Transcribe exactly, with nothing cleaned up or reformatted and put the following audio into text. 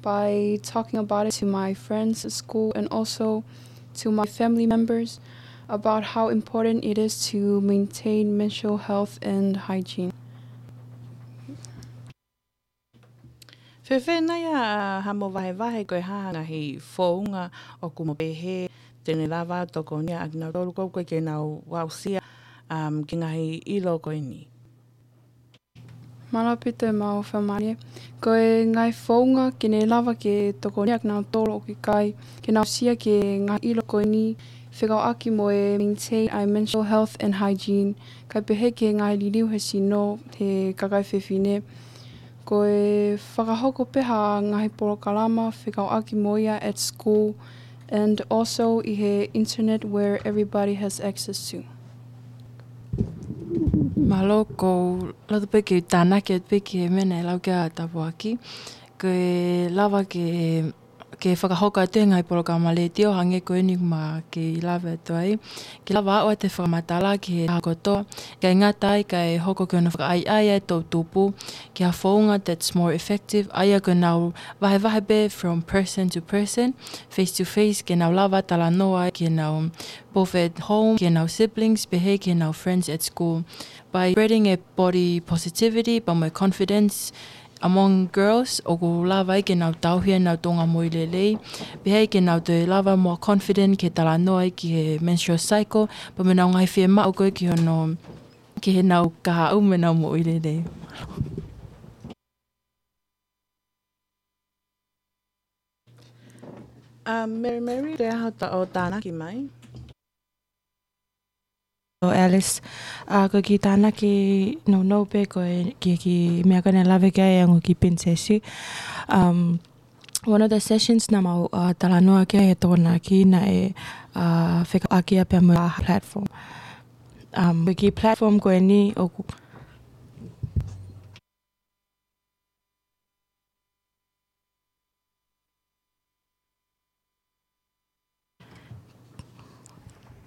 by talking about it to my friends at school and also to my family members about how important it is to maintain menstrual health and hygiene. Fēfē nai ʻa haʻamo vahevahe, ko e hā ha ngaahi founga ʻoku mo pehē te ne lava ʻo tokoniʻi ʻakinautolu ʻoku ʻikai ke nau aʻusia, um, ki he ngaahi ʻilo ko eni? Mālō ʻaupito ʻemau fakamālō. Ko e ngaahi founga ke ne lava ke tokoniʻi ʻakinautolu ʻoku ʻikai ke nau aʻusia ki he ngaahi ʻilo ko eni, fekauʻaki mo e maintain ʻa e menstrual health and hygiene, kae pehē ki he ngaahi liliu he sino he kakai fefine. Ko e fakahoko pē ha ngaahi polokalama fekauʻaki mo ia at school and also ʻi he internet where everybody has access to. Mālō, ʻoku ou loto pē ke tānaki atu pē ki he meʻa naʻe lau ki ai ʻa Tapuaki. Ko e lava ke, ke fakahoko atu e ngaahi polokalama letiō hangē ko eni ʻoku ma kei lave atu ai, ke lava ʻo ʻoatu e fakamatala ki he taha kotoa, ʻikai ngata ai kae hoko ki hono fakaʻaiʻai ʻa e toʻutupu ki ha founga that's more effective, ʻa ia ko ʻenau vahevahe pē from person to person, face to face, ke nau lava talanoa ai ki heʻenau both at home, ki heʻenau siblings, pehē ki heʻenau friends at school. By spreading a body positivity, pea mo e confidence among girls, ʻoku lava ai ke nau tauhi ʻenau tuʻunga moʻui lelei, pehē ai ke nau toe lava more confident ke talanoa ai ki he menstrual cycle, pea mo ʻenau ngaahi fiemaʻu ko ē ki hono, ki heʻenau kahaʻu mo ʻenau moʻui lelei. ʻA Mary Mary, te aho ta ʻo tānaki mai. ʻO Alice, ʻa, ko e kiʻi tānaki nounou pē ko e kiʻi, kiʻi meʻa ko ē naʻe lave ki ai ʻa e ongo kiʻi pilinisesi. Um, one of the sessions naʻa mau, ʻa, talanoa ki ai he Tokonaki naʻe, ʻa, fekauʻaki ia pea mo e platform. Um, ko e kiʻi platform ko eni ʻoku